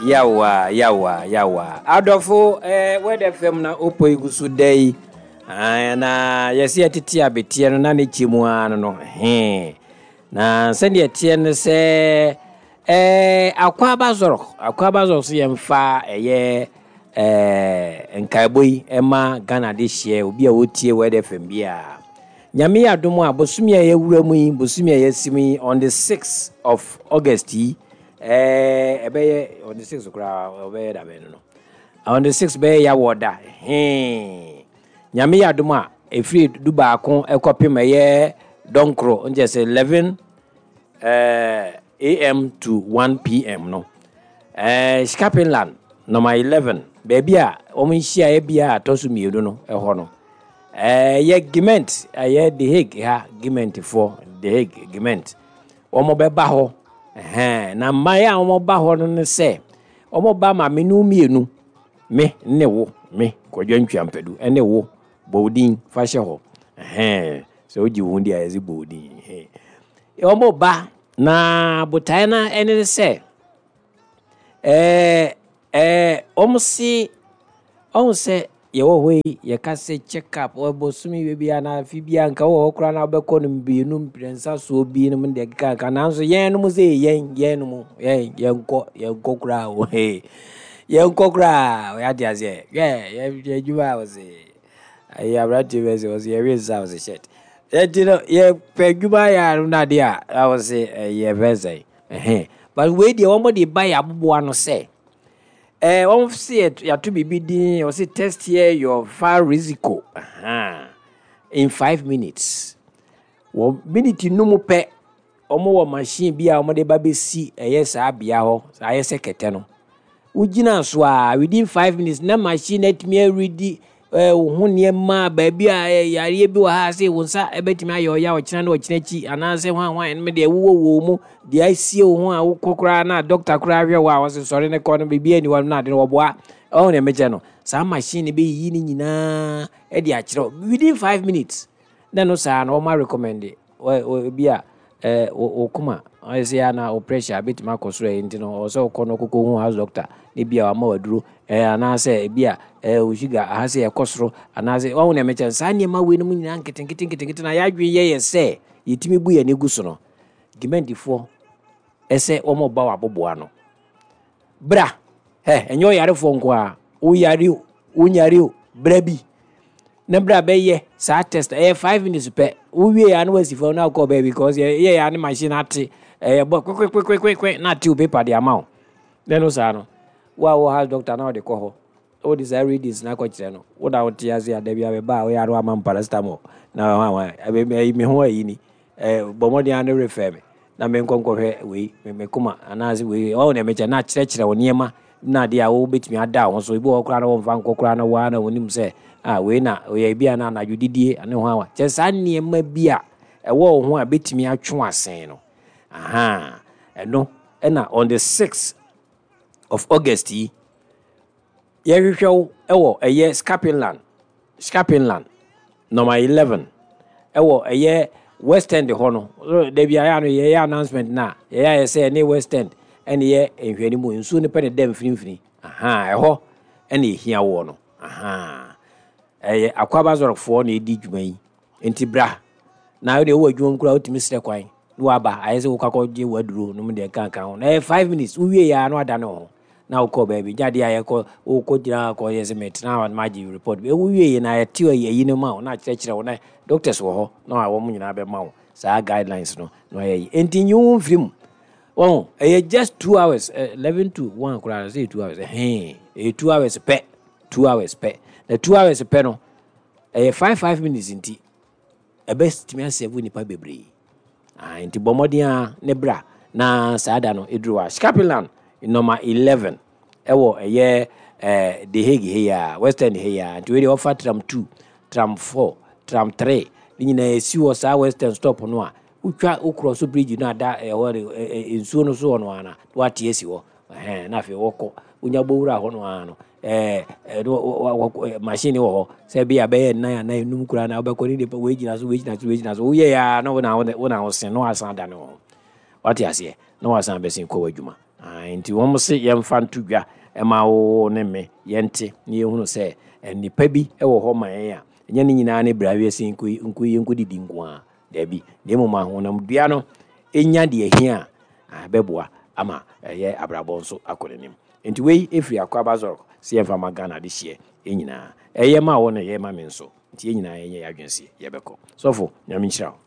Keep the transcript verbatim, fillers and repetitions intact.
Yawa, yawa, yawa. Adɔfo, eh, Word F M na opo yi gu so da yi. Ah, na yɛsɛ yɛtete abeteɛ no na ne kyɛ mu ara no no he. Na sɛdeɛ ɛteɛ no sɛ eh, Akwaaba Zorg, Akwaaba Zorg so yɛmfa ɛyɛ eh, nkaebɔ yi ɛma Ghana de hyɛ obi a wɔtie Word F M biara. Nyame yɛ adom a, bosome a yɛwura mu yi, bosome a yɛasi mu yi, on the sixth of August yi, ɛɛ ɛbɛyɛ on the sixth koraa, ɔbɛyɛ dabɛn no no on the sixth bɛyɛ yɛawɔ da hee. Nyame yɛ adom a, ɛfiri du baako ɛkɔpem ɛyɛ dɔnkoro, nkyɛ sɛ eleven ɛɛ A M to one P M no, ɛɛ Schiepenlaan number eleven, baabi a wɔn nhyiaeɛ bia a ɛtɔ so mmienu no ɛhɔ no, ɛyɛ gemeente, ɛyɛ The Hague ha gemeentefoɔ, The Hague gemeente, wɔn bɛba hɔ. Ɛhɛn, na mmaeɛ a wɔn ba hɔ no ne sɛ wɔn ba ma me ne mmienu, me ne wo, me Kwadwo Ntwiampadu ɛne wo, bɔ wo din fa hyɛ hɔ. Ɛhɛn, sɛ wogye wo ho di a, yɛsɛ bɔ wo din. Ɛhɛn. Wɔn ba na botaeɛ no ɛne ne sɛ ɛɛ ɛɛ wɔn se ɔhu sɛ yɛwɔ hɔ yi, yɛka sɛ check up bosome wie bi anaa afe bi a, nka wɔ hɔ koraa na wobɛkɔ no mmienu mprɛnsa soɔ bi nom deɛ keka ka, nanso yɛn nom sɛ yɛn yɛn nom yɛn yɛnkɔ yɛnkɔ koraa o, yɛnkɔ koraa. Yɛate aseɛ, yɛ yɛ adwuma a wɔsɛ ɛyɛ aberanteɛ bɛ sɛ wɔsɛ yɛwe nsa wɔsɛ shirt ɛnti no, yɛpɛ adwuma yɛ ano no adeɛ a wɔsɛ ɛyɛ fɛ sɛ ɛhɛn. But wei deɛ, wɔn de ba yɛ aboboa no sɛ ɛɛ wɔn si yɛato biribi din, wɔsi "Test here your valrisico" in five minutes. Wɔ minute num pɛ, wɔn wɔ machine bi a wɔde ba bɛsi ɛyɛ saa bea hɔ, ayɛ sɛ kɛtɛ no wogyina so a, within five minutes na machine atumi aredi ɛɛ wo ho nneɛma, baabi a yareɛ bi wɔ ha sɛ wo nsa ɛbɛtumi ayɛ ɔya ɔkyena ne ɔkyena akyi, anaasɛ hwan hwan ɛnom deɛ wowɔ wɔ mu deɛ asie wo ho a wokɔ koraa na doctor koraa hwɛ wo a, wɔsɛ sɔre ne kɔ no, biribi ani hɔ no na ade no wɔboa ɔho. Deɛ mekyɛ no, saa machine no bɛyiyi ne nyinaa ɛde akyerɛ within five minutes na no saa na wɔma recommend bi a ɛɛ wo koma ɔyɛ sɛ ana wo pressure bɛtumi akɔ soro, ɛyɛ nti no ɔwɔ sɛ wokɔ no kɔkɔ hu house doctor ne bi a wama waduro ɛɛ anaasɛ ebi a ɛɛ wo sugar aha sɛ ɛkɔ soro, anaasɛ wɔn nea mekyɛ saa nneɛma wei no mu nyinaa nketenkete nketenkete na yɛadwene yɛ yɛ sɛ yɛtumi bu yɛn ani gu so no. Gemeentefoɔ ɛsɛ wɔn ba wɔ aboboa no bra ɛ, ɛnyɛ ɔyarefoɔ nko a woyare o, wonyare o, bra bi na bra bɛyɛ saa test. Ɛyɛ five minutes pɛ, wowie ya na wasi fam na akɔ baabi, because yɛ yɛ ne machine ate ɛyɛ bɔ kwekwekwekwe na ate wo paper de ama wo. Na no saa no, wo a wɔ house doctor na wɔde kɔ hɔ, wode saa readings na akɔkyerɛ no, wo na wote ase a, dabi abɛba a woyɛ ano ama paracetamol na hwan hwan me ho ayi ni, bɔ mmɔden a ne refɛ me na menkɔ nkɔhwɛ wei me koma anaasɛ wei ɔwɔ nea mekyɛ na akyerɛkyerɛ wo nneɛma na adeɛ a wobɛtumi ada wo ho so. Ebi wɔ hɔ koraa na wɔmfa nkɔ koraa na wɔa na wɔnim sɛ ah, wei na ɔyɛ bi a na anadwo didie ne ho awa kyɛ saa nneɛma bi a ɛwɔ wo ho a bɛtumi atwe asen no. Aha, ɛno ɛna on the sixth of August yi yɛhwehwɛ wo ɛwɔ ɛyɛ Schiepenlaan, Schiepenlaan number eleven, ɛwɔ ɛyɛ West End hɔ no. Dabi ayɛ ano yɛyɛ announcement na yɛyɛ ayɛ sɛ ɛne West End ɛne yɛ nhwɛni mu nsuo no pɛ ne dɛ mfinimfini. Aha, ɛhɔ ɛna ehia wɔ no. Aha, ɛyɛ Akwaaba Zorgfoɔ na edi dwuma yi, nti bra na wode wowɔ adwuma mu koraa, wotumi srɛ kwan na waba, ayɛ sɛ wokɔ akɔgye waduro nom deɛ nkanka ho na ɛyɛ five minutes wowie yɛ a na wadane wo ho na wokɔ baabi gya deɛ a yɛkɔ wokɔ gyina kɔ yɛ sɛ metena hɔ na magye report. Wowie yɛ na yɛte ayi no ma wo na akyerɛkyerɛ wo na doctors wɔ hɔ na wɔn nyinaa bɛma wo saa guidelines no na ɔyɛ yi, enti nyi wo mfiri mu. Wɔn ɛyɛ just two hours, eleven to one koraa sɛ two hours ɛhɛn, ɛyɛ two hours pɛ, two hours pɛ, na two hours pɛ no ɛyɛ five five minutes, nti ɛbɛtumi asɛbo nipa bebree. Ah, nti bɔ mmɔden a ne bra na saa da no ɛduru hɔ a, Schiepenlaan number eleven, ɛwɔ ɛyɛ ɛɛ The Hague ha yi a, West End ha yi a. Nti wei deɛ, wɔfa tram two, tram four, tram three ne nyinaa esi wɔ saa West End stop no a, wotwa wokorɔ so bridge no ada ɛhɔ de ɛ nsuo no so wɔ no ana wate asi hɔ. Ɛhɛn, na afei wɔkɔ wonya bɔwura hɔ no ara no, ɛɛ ɛɛ machine wɔ hɔ sɛ bi a bɛyɛ nnan anan enum koraa na wobɛkɔ ne nipa wei gyina so, wei gyina so, wei gyina so, woyɛ ya na wo na wo na wosen na wasan da ne ho, wate aseɛ, na wasan bɛsen kɔ w'adwuma. Nti wɔn se yɛmfa nto dwa ɛma wo ne me yɛnte na yɛhunu sɛ nnipa bi wɔ hɔ ma yɛn a ɛnyɛ ne nyinaa ne bra wiase nko yɛnkɔdidi nko a daabi, na mmom ahonamdua no ɛnya deɛ hia a ɛbɛboa ama ɛyɛ abrabɔ nso akɔ n'anim. Nti wei ɛfiri Akwaaba Zɔrɔ sɛ yɛmfa ma Ghana de hyeɛ nyinaa. Ɛyɛ ma wo na ɛyɛ ma me nso. Nti yɛn nyinaa yɛnyɛ yɛn adwene sɛ yɛbɛkɔ. Sɔfo, Nyame nhyira wo.